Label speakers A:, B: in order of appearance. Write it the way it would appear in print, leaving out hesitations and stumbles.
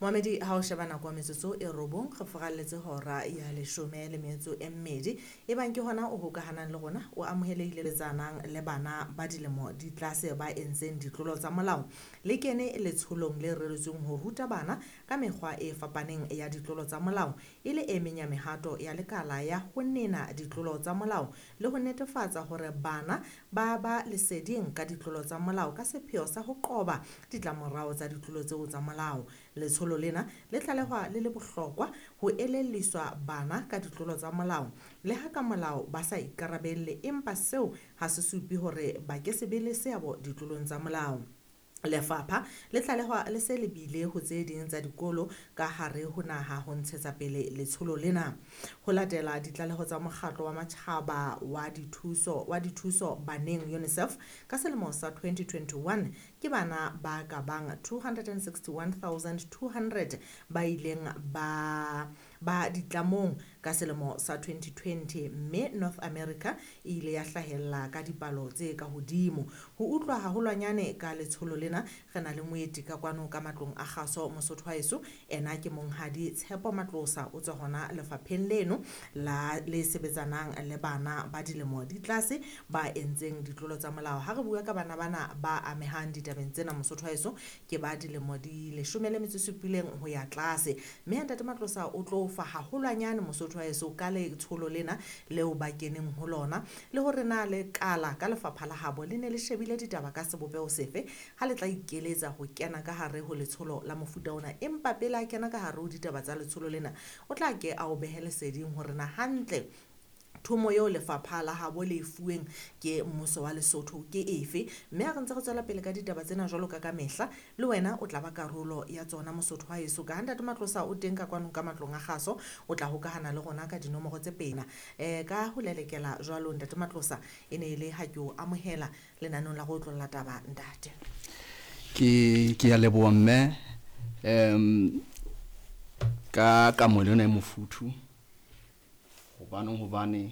A: Moamedi ha o sheba nako ya metsotso e robong re furalletse hora ya leshome le metso e mmedi. Ebang ke hona o hokahanang le rona, o amohelehile letsanang le bana ba dilemo di tlase ba entseng ditlolo tsa molao. Le kene letsholong le reretsweng ho ruta bana ka mekgwa e fapaneng ya ditlolo tsa molao, e le e meng ya mehato ya lekala ya ho nena ditlolo tsa molao le ho netefatsa hore bana ba ba leseding ka ditlolo tsa molao ka sepheo sa ho qoba ditlamorao tsa ditlolo tseo tsa molao. Letsholo lena le tlalehwa le le bohlokwa ho elelliswa bana ka ditlolo tsa molao le ha ka molao ba sa ikarabelle, empa seo ha se supe hore ba ke se be le seabo ditlolong tsa molao. Lefapha le tlalehwa le se lebile ho tse ding tsa dikolo ka hare ho naha ho ntshetsa pele letsholo lena. Ho latela ditlaleho tsa mokgatlo wa matjhaba wa dithuso baneng UNICEF ka selemo sa 2021, ke bana ba ka bang 261,200 ba ileng ba ditlamong ka selemo sa 2020, mme North America e ile ya hlahella ka dipalo tse ka hodimo. Ho utlwa haholwanyane ka letsholo lena, re na le moeti ka kwano ka matlong a kgaso Mosotho wa heso. Ena ke monghadi Tshepo Matlosa, o tswa hona lefapheng leno la le sebetsanang le bana ba dilemo di tlase ba entseng ditlolo tsa molao. Ha re bua ka bana bana ba amehang ditabeng tsena Mosotho wa heso, ke ba dilemo di 17 ho ya tlase. Mme ntate Matlosa o tlo fa haholwanyane Mosotho wa heso ka letsholo lena leo ba keneng ho lona, le hore na le kala ka lefapha la habo le ne le shebile ditaba ka sebopeho sefe ha le tla ikeletsa ho kena ka hare ho letsholo la mofuta ona. Empa pele a kena ka hare ho ditaba tsa letsholo lena, o tla ke a o behe leseding hore na hantle thomo eo lefapha la habo le fuweng ke mmuso wa Lesotho ke efe. Mme ha re ntse re tswela pele ka ditaba tsena jwalo ka ka mehla, le wena o tla ba karolo ya tsona Mosotho wa heso. Ka ha ntate Matlosa o teng ka kwano ka matlong a kgaso, o tla hokahana le rona ka dinomoro tse pena. Ka ho lelekela jwalo ntate Matlosa, e ne e le ha ke o amohela lenaneong la go otlolla taba ntate.
B: Ke ya leboha mme, ka kamohelo ena e mofuthu, hobane